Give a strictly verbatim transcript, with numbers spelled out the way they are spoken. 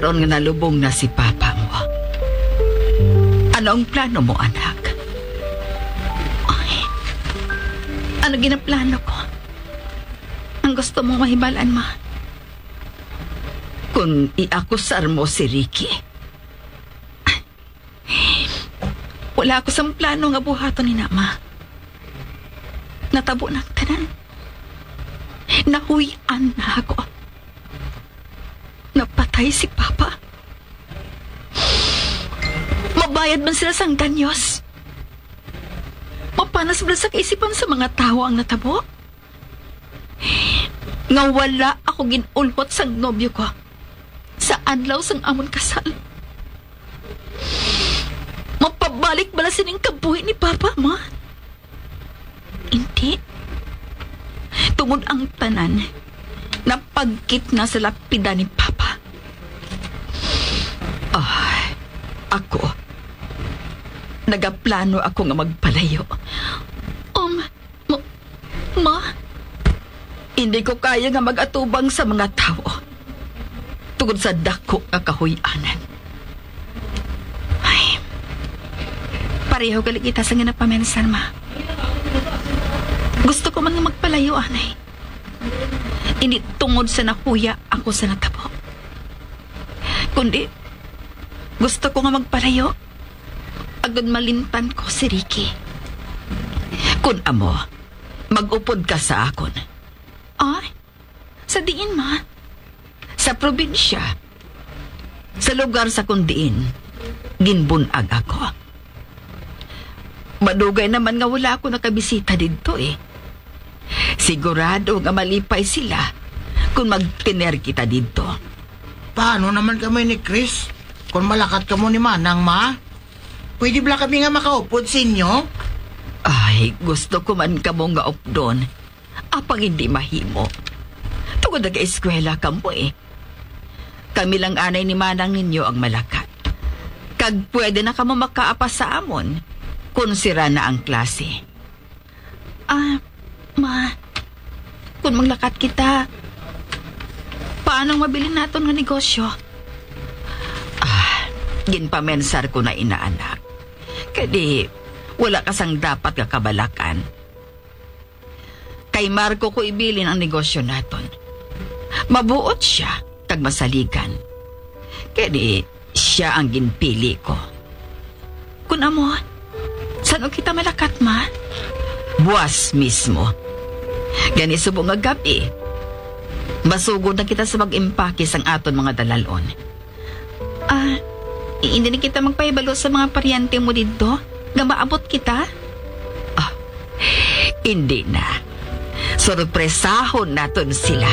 Tion nga nalubong na si papa mo. Ano ang plano mo, anak? Ay, ano ginaplano ko? Ang gusto mong mahibalaan, ma? Kung iakusar mo si Ricky, wala ako sang plano nga buhaton ni na, ma. Natabo na ang tanan. Nahuy-an na ako. Napatay si Papa. Mabayad man sila sang danyos. Mapanas man sa kaisipan sa mga tawo ang natabo. Nga wala ako gin-ulhot sang nobyo ko sa adlaw sang amon kasal. Mapabalik bala sining kabuhi ni Papa, ma? Hindi. Tungod ang tanan, napagkit na sa lapida ni Papa. Ah, ako, nagaplano ako nga magpalayo. Um, ma, ma, hindi ko kaya nga mag-atubang sa mga tawo tungod sa dako nga kahuy-anan. Ay, pareho gali kita sa ginapamensar, ma. Gusto ko man nga magpalayo, anay. Hindi tungod sa nahuya ako sa natabo. Kundi, gusto ko nga magpalayo agud malimtan ko si Ricky. Kun amo, mag-upod ka sa akon. Ah? Sa diin, ma? Sa probinsya. Sa lugar sa kun diin ginbun-ag ako. Madugay naman nga wala ako nakabisita didto, eh. Sigurado nga malipay sila kung magtiner kita didto. Paano naman kami ni Chris? Kung malakat kamo ni Manang, ma? Pwede bala kami nga makaupod sa inyo? Ay, gusto ko man kamo nga updon. Apang hindi mahimo. Tungod nag-eskwela kamo, eh. Kami lang anay ni Manang ninyo ang malakat. Kag pwede na kamo makaapas sa amon kung sira na ang klase. Ah, ma, kung maglakat kita, paano ang mabilin naton nga negosyo? Ah, ginpamensar ko na ina, anak. Kay di, wala ka sang dapat nga kabalakan. Kay Marco ko ibilin ang negosyo naton. Mabuot sia kag masaligan. Kay di, sia ang ginpili ko. Kun amo, san-o kita malakat, ma? Buas mismo. Gani subong nga gab-i, masugod na kita sa pag-impake sang aton mga dalalon. Ah, hindi na kita magpahibalo sa mga paryente mo didto nga maabot kita? Ah, hindi na. Sorpresahon naton sila.